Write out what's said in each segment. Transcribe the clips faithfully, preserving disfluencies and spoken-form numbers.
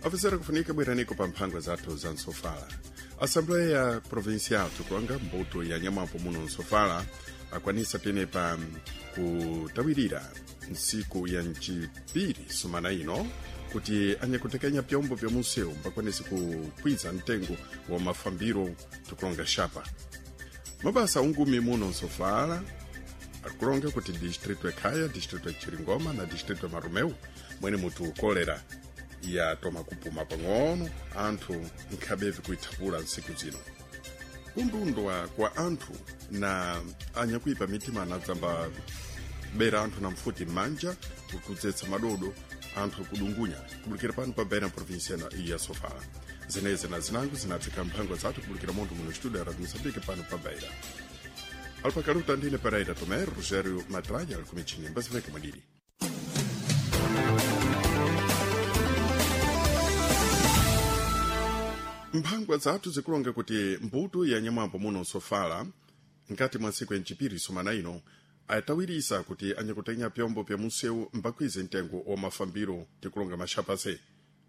Afisera kufunika bweraniko pa mphangwa zathu za nsofala. Assembleia Provincial tikulanga mbuto ya nyamwapo muno nsofala akwanisa tenepa kutawirira ntsiku ya ncipiri sumana ino kuti anyakutekenya pyombo vya munsewu mbakwanise kukwiza mtengo wa mafambiro tikulonga xapa. Mabasa ungumi muno nsofala akulonga kuti distrito ya Khaya, distrito ya Chiringoma na distrito ya Marumeu mwene mutu kolera yatoma kupuma pang'ono anthu nkhabevi kuithapula ntsiku zino. Kundundwa kwa anthu na anyakuipa mitima anadzamba bera anthu na mfuti m'manja kudzetsa madodo anthu kudungunya kubulikira pano pa Beira província ya Sofala. Zeneze na zinango zinatsika mphangwa zathu kubulikira munthu muno studio ya Radio Moçambique pano pa Beira. Alpakaluta ndine Pereira Tomé, Rogério Matralha ali kumichini mbaziveke mwadiri. Mphangwa zathu zikulonga kuti mbuto ya nyamwambo muno nsofala nkati mwa ntsiku ya ncipiri sumana ino atawirisa kuti anyakutenya pyombo pya munsewu mbakwize mtengo wa mafambiro tikulonga maxapase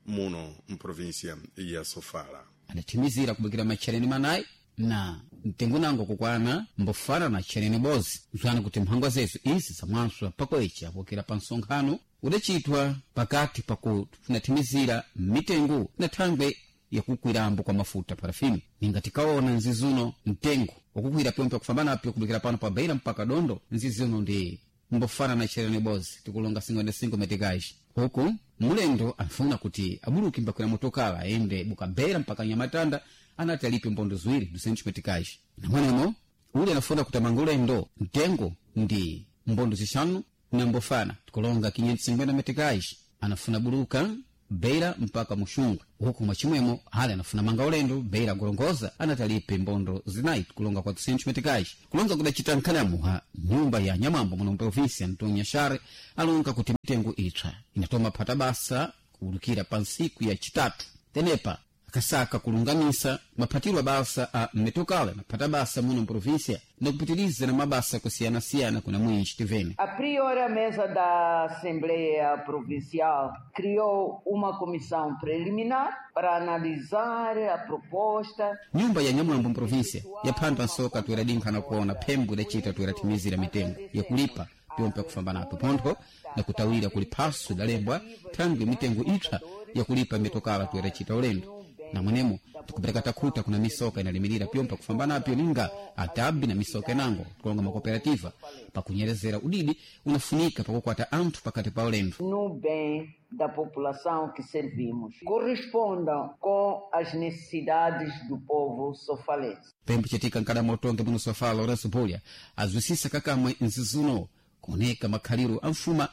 muno mprovinsia ya Sofala. Adathimizira kubukira matchereni manayi na mtengo nango kukwana mbofana na tchereni bozi zwana kuti mphangwa zezu izi zamwanswa pakoichi apokera pa nsonkhano udacitwa pakati pakufunathimizira mitengo na thangwe yakukwirambo kwa mafuta parafini. Ninga tikaona nzizuno mtengo wakukwira pyompo yakufambanapyo kubukira pano pa Beira mpaka Dondo nzizuno ndi mbofana na tchereni bozi tikulonga cinquenta e cinco meticais. Huku mulendo anfuna kuti abuluki mbakwira motokala ayende buka Beira mpaka Nyamatanda anati alipe mbondo ziwiri duzentos meticais. Namwenemo ule anafuna kuti amange ulendo mtengo ndi mbondo zixanu na mbofana tikulonga quinhentos e cinquenta meticais. Anafuna buluka Beira mpaka Muxungwe. Huku mwachimwemo ale anafuna manga ulendo Beira Gorongosa anati alipe mbondo zinayi kulonga quatrocentos meticais. Kulonga kudacita nkhanamuha nyumba ya nyamwambo muno mprovinsia Antonio Nyashare alonga kuti mitengo itswa inatoma phata basa kuwulukira pa ntsiku ya chitatu. Tenepa akasaka kulungamisa maphatiro a basa a mmetokala na phata basa muno mprovinsia na kupitiliza na mabasa kusiyanasiyana kuna mwinji tivene. A priori, a mesa da Assembleia Provincial criou uma comissão preliminar para analisar a proposta. Nyumba ya nyamwambo mprovinsia yaphandwa nsoka tuiradinkha na kuona phembo idacita tuirathimizira mitengo yakulipa pyompo yakufambanapo pontho na kutawira kuli phaso idalembwa thangwi mitengo ipsa yakulipa mitokala tuiracita ulendo. Na mwenemo tikupereka takhuta kuna misoka inalimirira pyompo kufambanapyo ninga atabi na misoka inango kulonga makooperativa pakunyerezera udidi unafunika pakukwata anthu pakati pa ulendo. No bem da população que servimos, correspondam com as necessidades do povo sofalense. Pembe chitika nkadama utonge muno Sofala Lourenço Bulha azwisisa kakamwe nzizuno kuoneka makhaliro a mfuma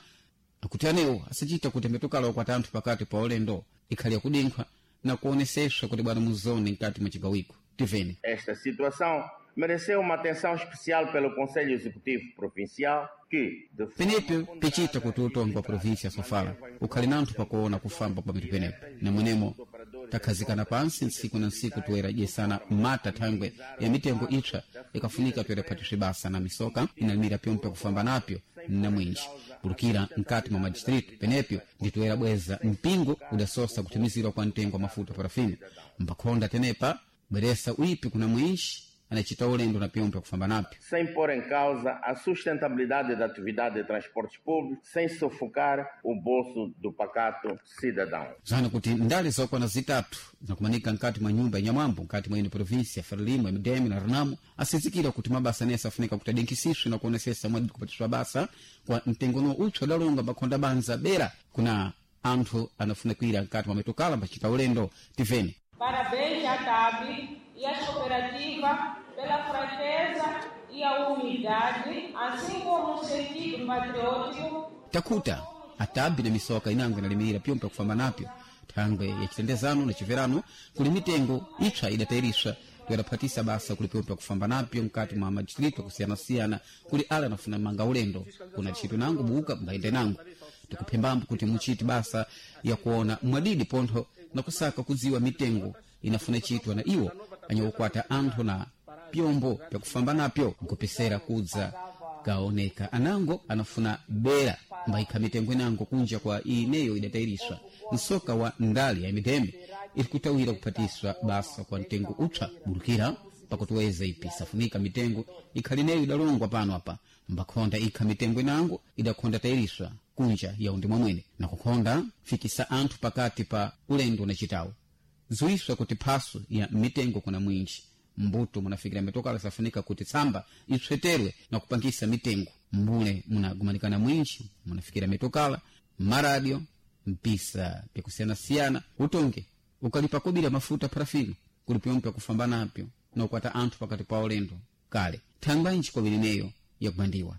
akuti anewo asachita kuti mitokala ukwata anthu pakati pa ulendo ikhali yakudinkhwa na kuoneseswa kuti bwana muzone nkati mwa chigawiko. Tivene. Esta situação mereceu uma atenção especial pelo Conselho Executivo Provincial que, de forma Penepo pichita kuti utongo wa província ya Sofala ukhali nanthu pakuona kufamba pa mitu penepo. Namwenemo takhazikana pansi ntsiku na ntsiku toera dyesana mata thangwe ya mitengo ipsa ikafunika toera phatiswe basa na misoka inalimira pyompo yakufamba napyo na mwinji bulukira nkati mwa madistritu penepyo nditoera bweza mpingo udasosa kuthimizirwa kwa mtengo wa mafuta parafini mbakhonda tenepa bweresa uipi kuna mwinji anacita ulendo na pyompo yakufamba napyo. Sem pôr em causa a sustentabilidade da atividade de transportes públicos, sem sufocar o bolso do pacato cidadão. Zana kuti ndale zokwana zitatu zinakumanika nkati mwa nyumba ya nyamwambo nkati mwa ino província Frelimo, M D M na Renamo asizikira kuti mabasa nese afunika kuti adinkisiswe na kuonesesa mwadi kupatiswa basa kwa mtengo no utsu adalonga makhonda banza bera kuna anthu anafuna kuira nkati mwa mitokala mbacita ulendo tivene. Parabéns à T A B e às cooperativas pela franqueza e a humildade, assim como o sentido patriótico. Takuta a T A B na misoka inango inalimira pyompo yakufamba napyo thangwe ya chitendezano na chiverano kuli mitengo ipsa idatairiswa toyadaphatisa basa kuli pyompo yakufamba napyo mkati mwa madistritu akusiyana-siyana kuli ala anafuna manga ulendo kuna tchito nango buka mbayende nango. Tikuphembambo kuti muchiti basa yakuona mwadidi pontho na kusaka kudziwa mitengo inafuna chitwa na iwo anyakukwata anthu na pyombo pyakufamba napyo nkupisera kudza kaoneka anango anafuna bera mbaikha mitengo inango kunja kwa ineyo idatayiriswa nsoka wa ndali ya mitembe iri kutawira kuphatiswa basa kwa mtengo upsa bulukira pakutuweza ipi safunika mitengo ikhali neyo idalongwa pano apa mbakhonda ikha mitengo inango idakhonda tayiriswa kunja ya undi mwamwene na kukhonda fikisa anthu pakati pa ulendo unachitawo zuiswa kuti phaso ya mitengo kuna mwinji mbuto munafikira mitokala safunika kuti tsamba itsweterwe na kupangisa mitengo mbule munagumanikana mwinji munafikira mitokala maradio mpisa pyakusiyanasiyana utonge ukalipa kobira mafuta parafini kuli pyomwe kufamba napyo na ukwata anthu pakati pa ulendo kale thangwanji kobiri neyo yakubandiwa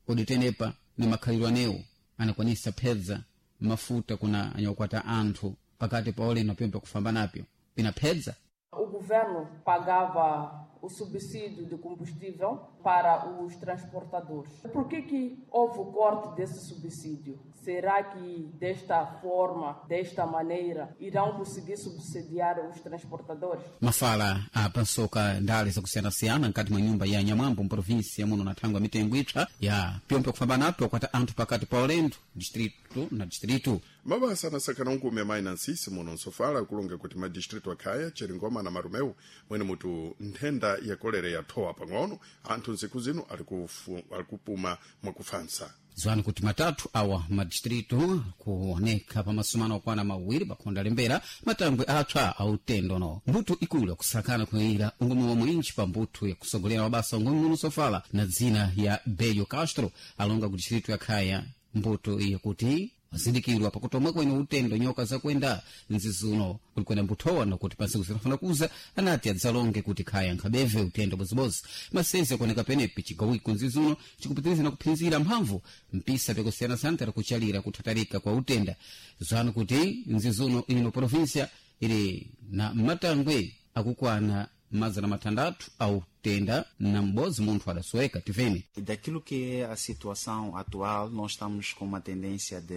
kodi tenepa ni makhalidwe anewo anakwanisa phedza mafuta kuna anyakukwata anthu pakati pa ulendo pyomwe kufamba napyo pinaphedza O governo pagava o subsídio de combustível para os transportadores. Por que, que houve o corte desse subsídio? Será que desta forma, desta maneira, irão conseguir subsidiar os transportadores? Mafala apansoka ndale zakusiyanasiyana nkati mwa nyumba ya Nyamwambo mprovinsi muno na thangwi ya mitengo ipsa ya pyompe kufamba napyo kwata anthu pakati pa ulendo distrito na distrito. Mabasa anasakana unkume amayi na nsisi muno nsofala kulonga kuti madistritu akhaya Cheringoma na Marumeu mwene mutu nthenda ya kolera yathowa pang'ono anthu ntsiku zino ali kufu- ali kupuma mwakufansa. Ziwani kuti matatu awa madistritu kuoneka pa masumano okwana mawiri pakhonda lembera matangwe apsa autendo no mbuto ikulu yakusakana kuyira ungomi wa mwinji pa mbuto yakusogolera mabasa ungomi muno sofala na dzina ya Belio Castro alonga ku distritu ya Khaya mbuto iya kuti wazindikirwa pakuti omwe kwene utendo nyoka zakwenda nzizuno kulikwena mbuthowa nokuti pansiku zinafuna kuza anati adzalonge kuti khaya nkhabeve utendo bozibozi masezi akuoneka penepi cigawiko nzizuno cikupitiriza na kuphinzira mphamvu mpisa pyakusiyanasiyana tara kuchalira kuthatarika kwa utenda zanu kuti nzizuno ino provinsia ili na matangwe akukwana mazana matandatu au tenda na m'bodzi munthu adasoweka tiveni. Daquilo que é a situação atual, nós estamos com uma tendência de